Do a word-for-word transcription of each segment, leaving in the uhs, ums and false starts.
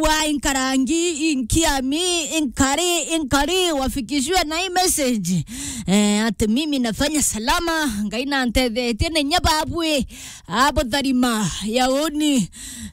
wa inkarangi, inkiami, inkari, inkari, wafikishiwe na hii message. Eh, ati mimi nafanya salama, Ngai nantethetie, na inya babwi, abo tharima ya uni.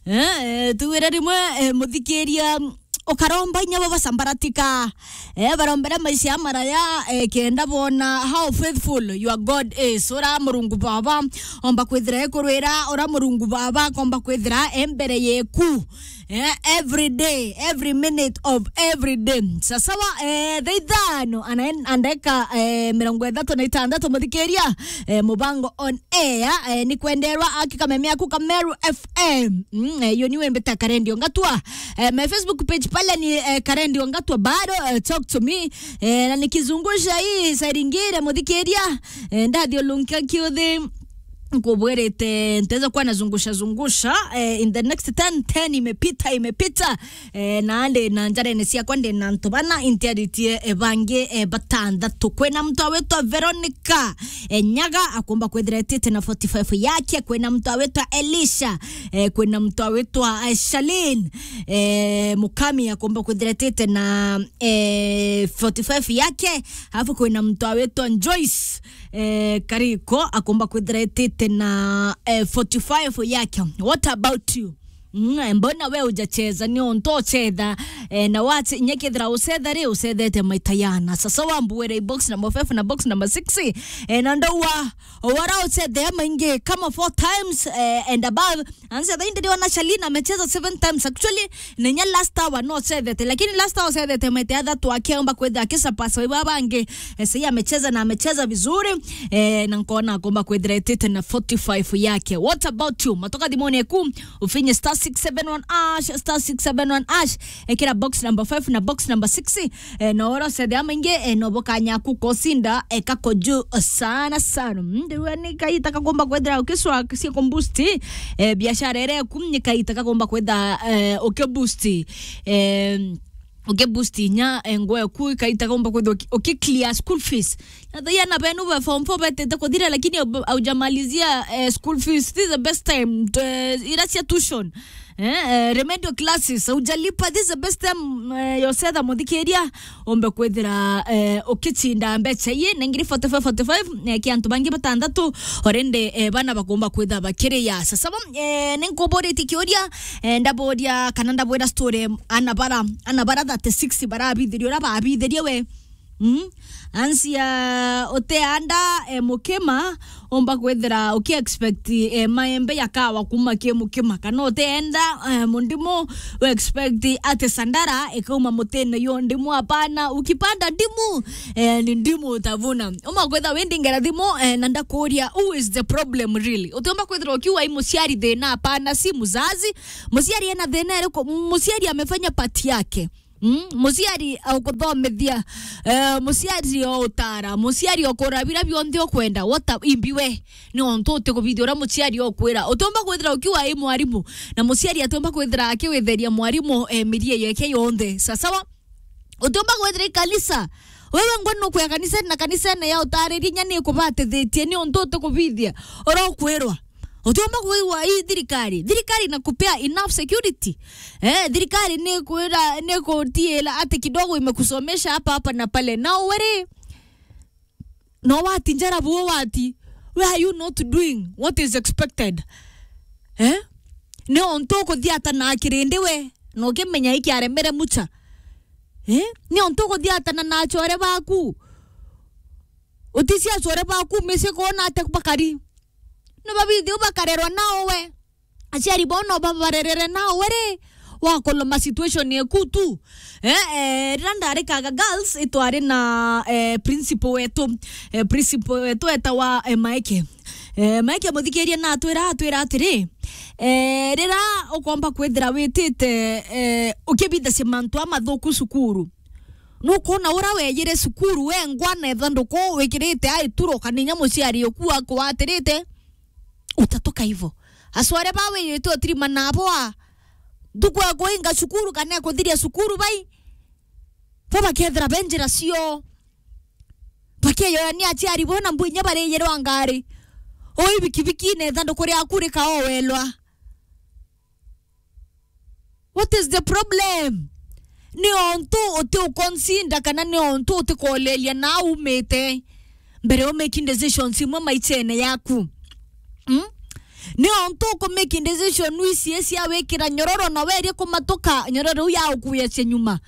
Eh, eh, tuwire rimwe, eh, muthikiria, ukaromba inya bo basambaratika. Eh, barombera maisha ya maraya, eh, kenda bona how faithful your God is. Ura Murungu Baba, omba kwithira ekurwira, ura Murungu Baba, komba kwithira e mbere yeku. Eh, every day, every minute of every day. Sasawa, eh, thaa ithano, ana-, andeka, eh, mirongo ithatu na itandatu, muthikiria, eh, mubango on air, eh, ni kwenderwa aki kameme aku Kameru F M. Mm, eh, iyo niwe mbita Karendio Ngatwa. Eh, my Facebook page pale ni, eh, Karendio Ngatwa bado, eh, talk to me. Eh, na nikizungusha hii saa ingine, muthikiria, eh, ndathiulunkia kiuthi, nkubwirite nteza kuwa nazungusha zungusha, eh, in the next ten, ten imepita, imepita, eh, na ndi na njarene ciakwa ndi na antu bana, intiaritie, eh, bangi, eh, batandatu. Kwina mtu awitwa Veronica, eh, Nyaga, akomba kwithira etite na forty-five yake. Kwina mtu awitwa Elisha, eh, kwina mtu awitwa, eh, Shalin, eh, Mukami, akomba kwithira etite na, eh, forty-five yake. Alafu kwina mtu awitwa Joyce, eh, Kariko, akomba kwithira etite na, eh, forty-five yake. What about you? Mm, mbona we ujacheza? Ni onto uchetha, eh, na wati nyekethira uchetha ri, uchethete maita yana. Sasa wambuere box number five na box number six, eh, na ndawa wara uchethe maingi kama four times, eh, and above. Anza thainde ndiona Shalina amecheza seven times actually. Nenya last hour no uchethete, lakini last hour uchethete maita ya thatu akiomba kwetha akisapasa iba bangi. Eh, sasa amecheza na amecheza vizuri, eh, na nkona akomba kwethira etite na forty-five yake. What about you? Matoka thimone ku, ufinye star six seven one hash, star six seven one hash. Ekira box number five na box number six, eh, no oro sethe amaingi, eh, no bokanya ku kosinda, eh, kako juu sana sana. Mm, ndirwe ni kaita kakomba kwethira ukiswa sia kumboost, eh, biashara ere ku ni kaita kakomba kwetha, eh, ukiboost, eh, ukiboost inya, eh, ngwe ku kaita komba kwetha uki-, ukiclear school fees. Na thaia na benu ba form four betete kuthira, lakini au-, aujamalizia, eh, school fees. This is the best time. Eh, ira cia tuition. Eh, eh, remedial classes, aujalipa. This is the best time, eh, yosetha muthikiria, ombe kwithira, eh, ukichinda mbecha ii, na ngiri forty-five, forty-five, eh, ki antu bangi batandatu, already, eh, bana bakomba kwitha bakiri ya. Sasa, eh, ninkuburitie kiuria, eh, ndaburia kana ndabwira story, ana bara, ana bara thirty-six barabithirie, uria babithirie we. Mm? Ansia uteanda, eh, mukima, omba kwithira uki expect, eh, maembe yakawa kuma ki mukima, kana uteenda, eh, mundimu, u expect ati sandara ikauma mutine yo ndimu. Hapana, ukipanda ndimu, eh, ni ndimu utavuna. Uma kwitha windingera thimu, eh, na ndakuria, who is the problem really? Utiumba kwithira ukiuga i muciari thina, hapana, si mzazi. Muciari ena thina iriku? Muciari amefanya part yake. Mm, muciari ukuthomithia, eh, muciari o utara, muciari o kura bira bionthe ukwenda, what a-, imbi we, ni ontu utikubithia uria muciari okwira. Utiumba kwithira ukiuga i mwarimu, na muciari atiumba kwithira akiwitheria mwarimu, eh, mirie yeke yonthe. Sasawa? Utiumba kwithira i kanisa, wewe ngwe nukwia kanisene, na kanisene ya utaririe inya ni ikubatithitie, ni ontu utikubithia uria ukwirwa. Utiumba kwigua ii thirikari. Thirikari inakupea enough security. Eh, thirikari ni kwira, ni kutiila ati kidogo imekusomesha hapa, hapa na pale. Now weri, no wati njara buo wati. Where are you not doing what is expected? Eh? Ni ontu ukuthiata na kirindi we, na ukimenya iki aremere mucha. Eh? Ni ontu ukuthiatana na achore baku. Utisi achore baku misi kona ate bakari. No babithi ubakarerwa nao we. Aciari bao no babarerere nao we ri, wakoloma situation yeku tu. Eh, eh, rira ndari Kaga Girls, itwari na, eh, principal wetu. Eh, principal wetu etawa, eh, Maeke. Eh, Maeke muthikirie na atwira, atwira atiri, eh, rira ukomba kwithira witite, eh, ukibithacia mantu amathuku cukuru, nukwona ura weyire cukuru wengwa na ithanduku wikirite aituro, kana inya muciari uku akwatirite, utatuka ivo. Acware ba wiyite utirima nabo a, ntuku ekuinga cukuru kana ekuthiria cukuru bai, bo bakethira be njira cio. Bakeyoyania aciari bo na mbu inya bariyirwa ngari. Ui bikibiki na ithanduku riaku rikaowelwa. What is the problem? Ni ontu uti uconsider kana ni ontu utikolelia na umite mbere u making decisions imwe maichene yaku. Mm? Ni ontu uku making decision wisi cia wikira nyororo na werie kumatuka nyororo iu ya ukuya cia nyuma.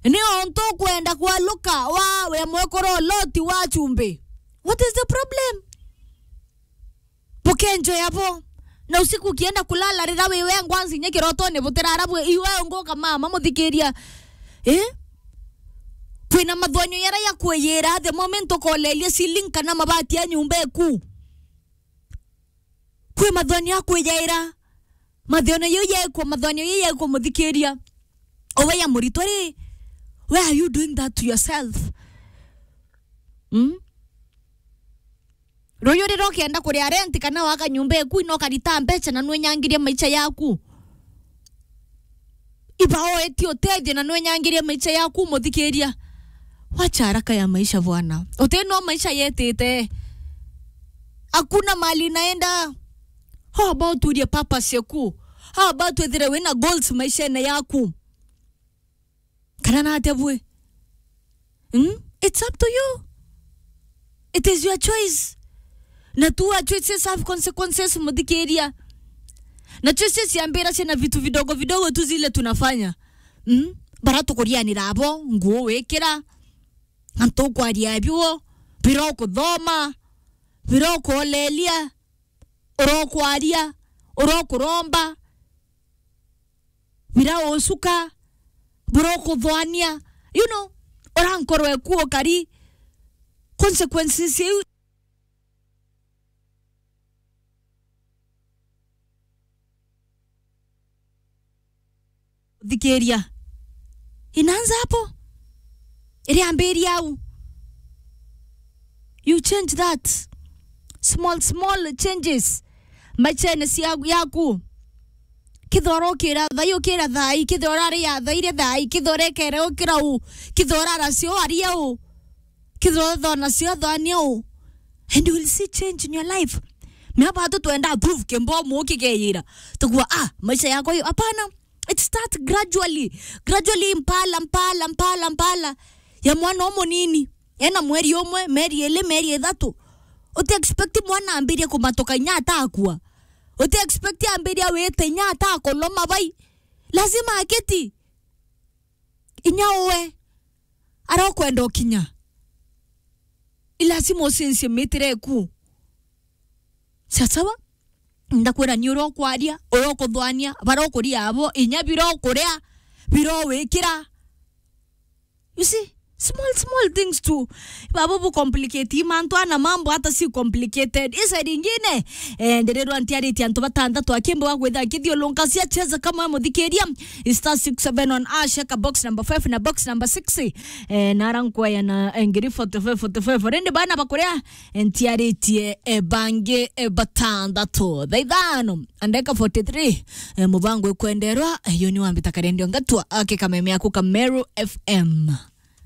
Ni ontu ukwenda kwaluka wa we mwekoro Loti wa chumbi. What is the problem? Bukenjoya bo. Na usiku ukienda kulala, rira wi wengwa nzinya kirotone butirara bwi iwe unguka mama muthikiria. Eh? Kwina mathonyo yara ya kwiyira the moment ukolelia ceiling kana mabati ya nyumba eku. Kwi mathonyo ya kwiyaira. Mathonyo yau yekwo, mathonyo yau yekwo muthikiria. Owe ya muritwa ri, why are you doing that to yourself? Hmm? Ruyu rira ukienda kuria rent kana waka nyumba eku, ino ukarita mbecha na nwenyangiria maisha yaku. Iba oeti utethio na nwenyangiria maisha yaku, muthikiria. Wacha haraka ya maisha bwana. Uti no maisha yetite. Hakuna mali naenda. How about urie purpose yaku? How about wethire wina goals maishene yaku? Kana na atia bwe? Hmm? It's up to you. It is your choice. Na tu our choices have consequences, muthikiria. Na choices ciambira ciana vitu vidogo vidogo tu zile tunafanya. Hmm? Bara tukurianira abo, nguo wikira, antu ukwaria biuo, bira ukuthoma, bira ukolelia, urokwaria, urokuromba, bira ucuka, bura ukuthwania, you know, ura nkoro eku ukari, consequences iu. Thikiria. Inaanza hapo. Iriambiria au. You change that. Small, small changes. Maichene cia, yaku. Kithora ukira thai, ukira thai, kithora ria thai, ria thai, kithora ekere ukira u, kithora racio aria u. Kithora thona cio thania u. And you will see change in your life. Mea batu twenda proof kimbomu ukigeyira. Tukua, ah, maisha yako hiyo. Hapana. It start gradually. Gradually, mpala, mpala, mpala, mpala. Ya mwana umunini. Ena mweri umwe, meri ili, meri ithatu. Uti expect mwana ambirie kumatuka inya atakua. Uti expect ambirie awite inya atakuloma bai. Lazima akiti. Inya uwe. Ara ukwenda ukinya. Ilazima ucincie mitire eku. Sasawa? Ndakwira ni uria ukwaria, uria ukuthwania, bara ukuria abo, inya bira ukuria, bira wikira. You see? Small, small things tu. Babo bu complicate mantu ana mambo hata si complicated. Isa ringine, eh, ndirirwa ntiaritie antu batandatu akimbo wa gwitha akithiulunka cia cheza kama we muthikiria. Star six seven one hash, eka box number five na box number six. Eh, nara nkwaya na, eh, ngiri forty-five, forty-five. Rindi bana bakuria, eh, ntiaritie, eh, bangi, eh, batandatu. Thaa ithano, andeka forty-three, eh, mubango ikwenderwa, eh, yo ni wambita karendio ngatwa, ake kameme aku ka Meru F M.